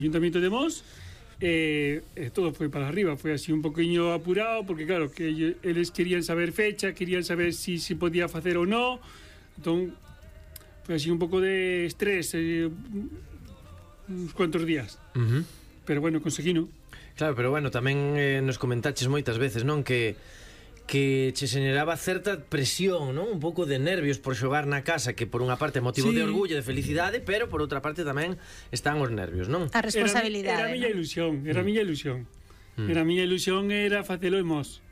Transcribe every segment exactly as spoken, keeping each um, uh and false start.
Ayuntamiento de Mos, eh, eh, todo foi para arriba, foi así un poquinho apurado, porque claro, que eles querían saber fecha, querían saber si se si podía facer ou non, entón foi así un pouco de estrés, eh, uns cuantos días, uh-huh. pero bueno, conseguino. Claro, pero bueno, tamén eh, nos comentaches moitas veces, non, que que che generaba certa presión, non? Un pouco de nervios por xogar na casa, que por unha parte é motivo sí. de orgullo, de felicidade, pero por outra parte tamén están os nervios, non? A responsabilidade. Era, era a miña ilusión, era a miña ilusión. Mm. Era a miña ilusión era facelo en Mos.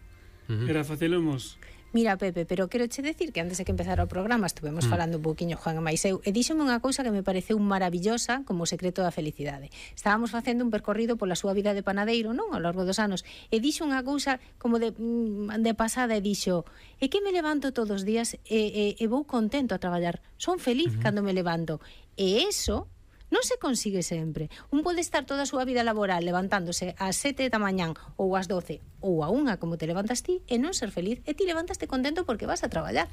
Uh-huh. Era facelo en Mos. Mira, Pepe, pero quero che decir que antes de que empezara o programa estuvemos mm. falando un pouquiño Juan e máis eu, e díxome unha cousa que me pareceu maravillosa como o secreto da felicidade. Estábamos facendo un percorrido pola súa vida de panadeiro, non? Ao longo dos anos, e dixo unha cousa como de, de pasada e dixo: "É que me levanto todos os días e, e, e vou contento a traballar. Son feliz mm-hmm. cando me levanto." E eso non se consigue sempre. Un pode estar toda a súa vida laboral levantándose ás sete da mañán ou ás doce ou a unha como te levantas ti e non ser feliz, e ti levantaste contento porque vas a traballar.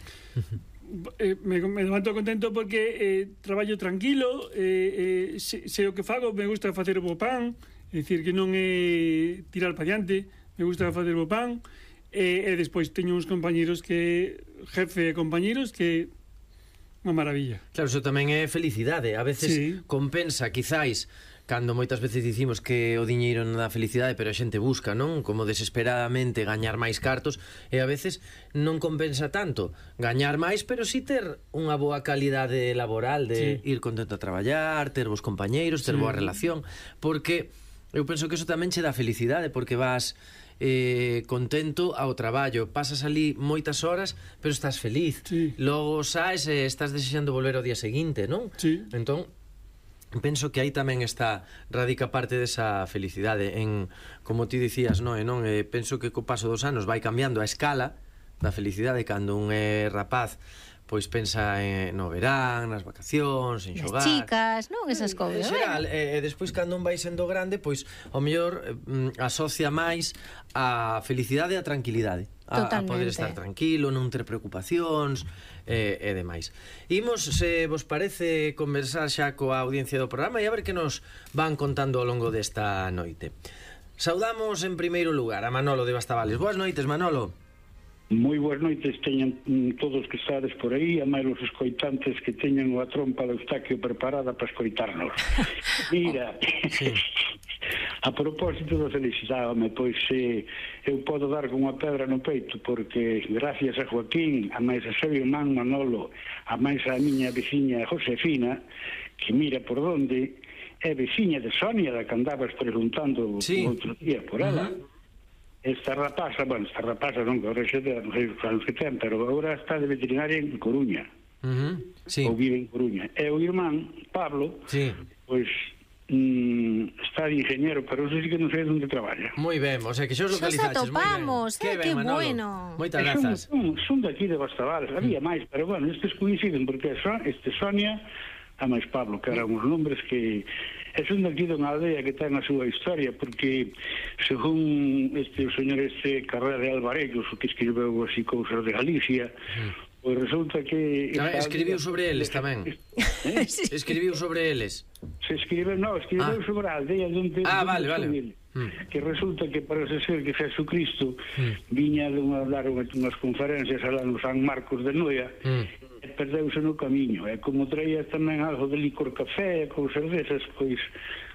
eh, me, me levanto contento porque eh, traballo tranquilo, eh, eh, se, se o que fago me gusta facer o bo pan, é dicir que non é tirar pa diante, me gusta facer o bo pan, e, e despois teño uns compañeros que jefe e compañeros que unha maravilla. Claro, iso tamén é felicidade. A veces sí. compensa, quizáis, cando moitas veces dicimos que o diñeiro non dá felicidade, pero a xente busca, non? Como desesperadamente gañar máis cartos, e a veces non compensa tanto gañar máis, pero si ter unha boa calidade laboral de sí. ir contento a traballar, ter bons compañeiros, ter sí. boa relación, porque eu penso que iso tamén che dá felicidade, porque vas eh, contento ao traballo, pasas ali moitas horas, pero estás feliz. Sí. Logo saes e estás desexando volver ao día seguinte, non? Sí. Entón, penso que aí tamén está radica parte desa felicidade en, como ti dicías, non? E non, eh, penso que co paso dos anos vai cambiando a escala da felicidade. Cando un é rapaz, pois pensa en, no verán, nas vacacións, en xogar, as chicas, non? Esas cousas. En xeral, e, e despois cando un vai sendo grande, pois ao mellor mm, asocia máis a felicidade e a tranquilidade. A, a poder estar tranquilo, non ter preocupacións e, e demais. Imos, se vos parece, conversar xa coa audiencia do programa e a ver que nos van contando ao longo desta noite. Saudamos en primeiro lugar a Manolo de Bastavales. Boas noites, Manolo. Moi boas noites teñan todos que estades por aí, a máis os escoitantes que teñan a trompa de Eustaquio preparada para escoitarnos. Mira, sí. A propósito da felicidade, home, pois eh, eu podo dar con unha pedra no peito, porque gracias a Joaquín, a máis a seu irmán Manolo, a máis a miña veciña Josefina, que mira por onde, é veciña de Sonia, da que andabas preguntando sí. outro día por ela. Uh-huh. Esta rapaza, bueno, esta rapaza non, que agora xa non sei os anos que ten, pero agora está de veterinaria en Coruña. Uh-huh. Sí. Ou vive en Coruña. E o irmán, Pablo, sí. pois mm, está de ingeniero, pero eso sí que non sei onde traballa. Moi ben, o sea que xos localizaches. Xos atopamos, eh, que bueno. Moitas grazas. Son, son daqui de Bastavales, había máis, pero bueno, estes coinciden, porque son, este Sonia, a máis Pablo, que eran uns nombres que é son daqui dunha aldea que ten a súa historia, porque según este o señor este Carrera de Alvarellos, que escribeu así cousas de Galicia, mm. pois resulta que no, escribiu sobre eles tamén. ¿Eh? Escribiu sobre eles. Se escribeu, no, escribeu ah. sobre a aldea onde ah, vale, vale. Mm. Que resulta que parece ser que Jesucristo mm. viña de unha, dar unhas conferencias alá no San Marcos de Noia mm. e perdeuse no camiño, e como traía tamén algo de licor café e cousas desas, pois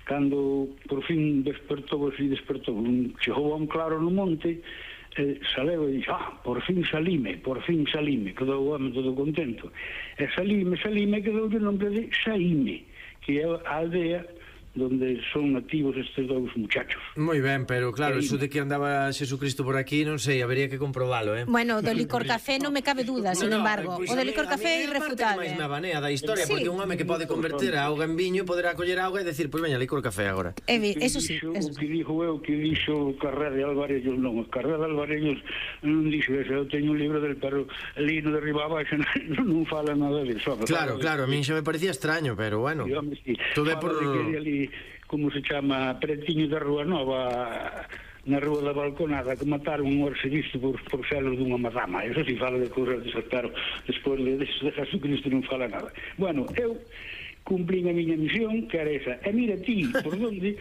cando por fin despertou e despertou chegou a un claro no monte, eh, saleu e dixo, ah, por fin salime, por fin salime, quedou o home todo contento, e salime, salime, quedou o nome de Saíme, que é a aldea donde son nativos estes dous muchachos. Moi ben, pero claro, eso de que andaba Jesucristo por aquí, non sei, habería que comprobalo, eh? Bueno, do licor café non me cabe duda, sin no, no, embargo, pues o do licor café é irrefutable. A mí é máis me abanea da historia, sí. Porque un home que pode converter a auga en viño poderá coller auga e decir, pois pues veña, licor café agora. Eh, eso sí, eso sí. O que dixo eu, que dixo Carrera de Alvarellos, non, Carrera de Alvarellos non dixo eso, eu teño un libro del, pero lino de riba abaixo non, non fala nada de eso. Claro, claro, a mí xa me parecía extraño, pero bueno, todo é por... como se chama, pretiño da Rúa Nova, na Rúa da Balconada, que mataron un arcebisto por, por celos dunha madama. Eso si fala de cousas desas, claro, despois de, de Jesucristo non fala nada. Bueno, eu cumplín a miña misión, que era esa. E mira ti, por onde